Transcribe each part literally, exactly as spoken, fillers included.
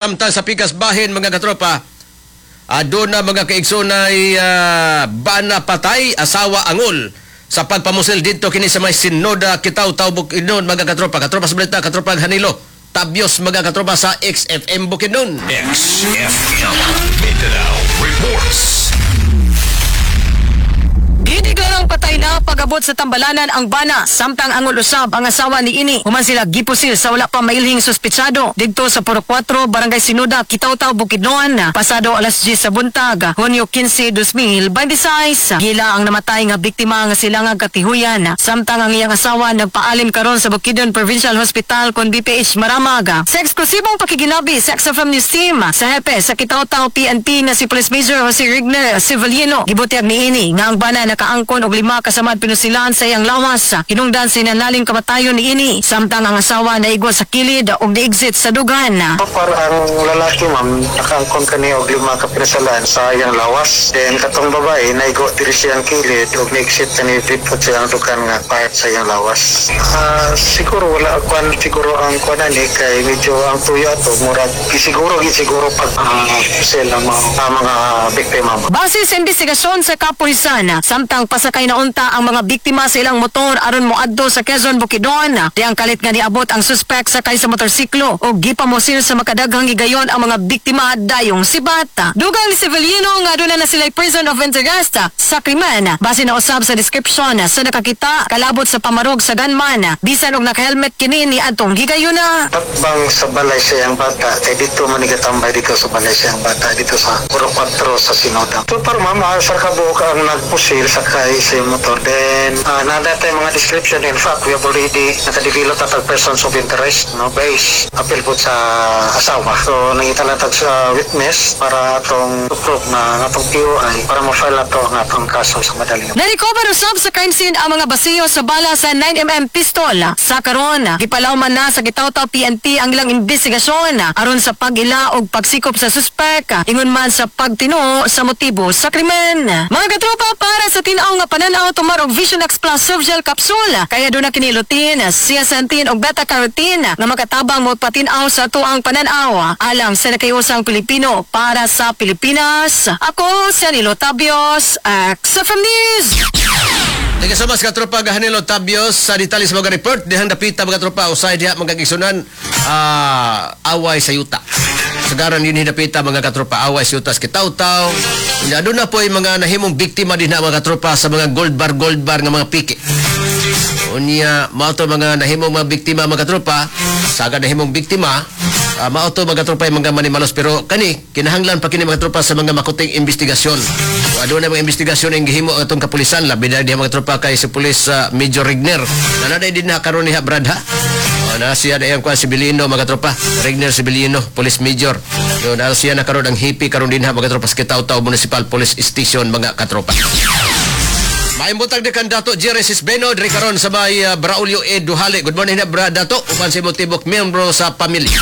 Samtang sa pikas bahin, mga katropa, aduna, mga kaigsoonay, uh, bana patay, asawa angol sa pagpamusil dito kini sa may Sinoda, Kitaw-Taw, Bukidnon, mga katropa. Katropa sa balita, katropa Hanilo Tabios, mga katropa, sa X F M Bukidnon. X F M Mindanao Reports. Gideklarang patay na pag-abot sa tambalanan ang bana samtang angol usab ang asawa ni ini human sila gipusil sa wala pa mailhing suspetsado didto sa Purok kwatro, Barangay Sinuda, Kitaw-Taw, Bukidnon, pasado alas diyes sa buntag, Hunyo kinse, dalawang libo bente sais. Gila ang namatay nga biktima nga sila nga katihuyan samtang ang iyang asawa nagpaalim karon sa Bukidnon Provincial Hospital kon B P H Maramag. Sa eksklusibong pakigilabi sa X F M News Team sa hepe sa Kitaw-Taw P N P nga si Police Major Jose Rigner Civilino, gibutyag niini nga ang bana nakaangkon og lima ka samad pinusilan sa iyang lawas hinungdan sa hinanaling kamatayon ni ini samtang ang asawa naigo sa kilid og ni-exit sa dugan. So far, ang lalaki, ma'am, nakaangkon kani og lima ka pinasalan sa iyang lawas. Then katong babae, naigo diri siyang kilid og ni-exit kani dito sa iyang dugan nga part sa iyang lawas. Ah, siguro wala kwan, siguro ang kwan ani kay medyo ang tuyo ato murag gisiguro gisiguro pag uh, sel ang mga, ang mga biktima, ma'am. Base sa investigasyon sa kapulisan, samtang pasakay na unta ang mga biktima sa ilang motor aron moadto sa Quezon, Bukidnon, diyang kalit nga niabot ang suspek sakay sa motorsiklo o gipamusil sa makadaghang higayon ang mga biktima dayong sibat. Dugang ni Severino nga aduna na sila person of interest sa krimen base na usab sa description sa nakakita kalabot sa pamarog sa gunman bisan og naka-helmet kini ni adtong higayuna. Takbang sa balay sa iyang bata kay dito man gatambay dito sa balay sa iyang bata dito sa Purok kwatro sa Sinoda. So para, ma'am, sa kabuok ang nagpusil sakay sa iyang motor. Then uh, naa tay mga description. In fact, we have already nakadevelop na tag persons of interest, no, base apil po sa asawa. So nangita lang tag sa witness para atong to prove na atong P O I para ma-file ato ang atong kaso sa madali. Na-recover usab sa crime scene ang mga basiyo sa bala sa nine millimeter pistol. Sa karon, gipalawman na sa Kitaw-Taw P N P ang ilang investigasyon aron sa pag-ila og pagsikop sa suspek ingon man sa pagtinuo sa motibo sa krimen. Mga katropa, para sa tin-aw nga pananaw, tumar og Vision X Plus Soft Gel Capsule. Kaya aduna kini lutein, zeaxanthin og beta-carotene nga makatabang mo patin-aw sa atuang pananaw. Alang sa nakahiusang Pilipino para sa Pilipinas, ako si Anilo Tabios, X F M News. Thank you so much, katropa Hanilo Tabios, sa detalye sa mga report. Dihang dapita, mga tropa, usay diha, mga kaigsuonan, ah, away sa yuta. Sagaran din dapita, mga katropa, away sa yuta sa Kitaw-Taw. Unya aduna po yung mga nahimong biktima din na, mga katropa, sa mga gold bar gold bar nga mga piki. Unya mao to mga nahimong mga biktima, mga katropa, saga nahimong biktima, uh, mao to, mga katropa, yung mga manimalos, pero kani kinahanglan pa kini, mga tropa, sa mga makuting investigasyon. So, aduna mga investigasyon ang gihimo ang atong kapulisan, labi na diha, mga tropa, kay si Police uh, Major Rigner. Nanaday din na karon niha, brad, ha. Oh, na siya na iyang kuan si Bilino, mga tropa. Regner Sibilino, Police Major. Yo, na siya na karon ang hipi karon dinha, mga tropa, sa Kitaw-Taw Municipal Police Station, mga katropa. Maayong buntag di kan Dato Jerry Sisbeno diri karon sa may uh, Braulio E. Duhale. Good morning na, bra Dato, uban sa imong tibok miyembro sa pamilya.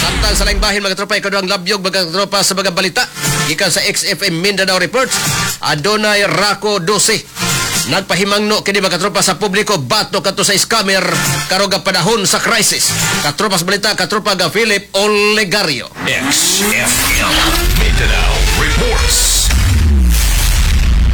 Samtang sa laing bahin, mga tropa, ikaduhang labyog, mga tropa, sa mga balita gikan sa X F M Mindanao Reports, adunay Rako dose. Nagpahimangno kini, mga katropa, sa publiko batok kato sa scammer karong panahon sa crisis. Katropa sa balita, katropa ga Philip Olegario. X F M Mindanao Reports.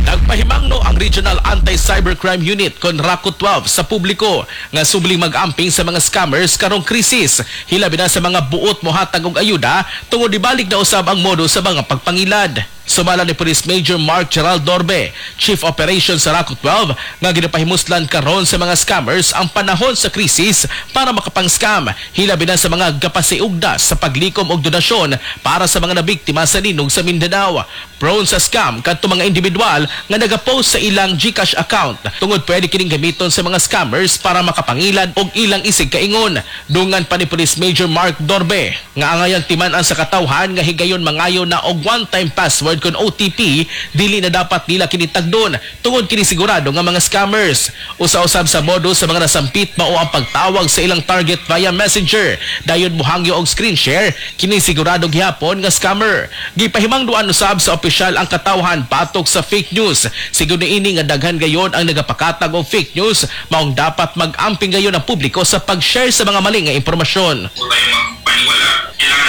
Nagpahimangno ang Regional Anti-Cybercrime Unit kon RACU twelve sa publiko nga subling mag-amping sa mga scammers karong krisis. Hilabi na sa mga buot mohatag og ayuda tungod ibalik na usab ang modo sa mga pagpangilad. Sumala ni Police Major Mark Gerald Dorbe, Chief Operations sa RACU twelve, nga ginapahimuslan karon sa mga scammers ang panahon sa krisis para makapang-scam. Hilabi na sa mga gapasiugda sa paglikom og donasyon para sa mga nabiktima sa linog sa Mindanao. Prone sa scam kadto mga individual nga nagapost sa ilang GCash account tungod pwede kining gamiton sa mga scammers para makapangilad og ilang isig kaingon. Dungan pa ni Police Major Mark Dorbe nga angayang timan-an sa katawhan nga higayon mangayo na og one-time password kon O T P, dili na dapat nila kini tagdon tungod kini sigurado nga mga scammers. Usa-usab sa modo sa mga nasampit mao ang pagtawag sa ilang target via Messenger. Dayon mohangyo og screen share, kini sigurado gihapon nga scammer. Gipahimangduan usab sa opisyal ang katawhan batok sa fake news. Siguro ini nga daghan gayon ang nagapakatag og fake news, maong dapat mag-amping gayon ang publiko sa pag-share sa mga mali nga impormasyon. Tayo magpaniwala. Kailangan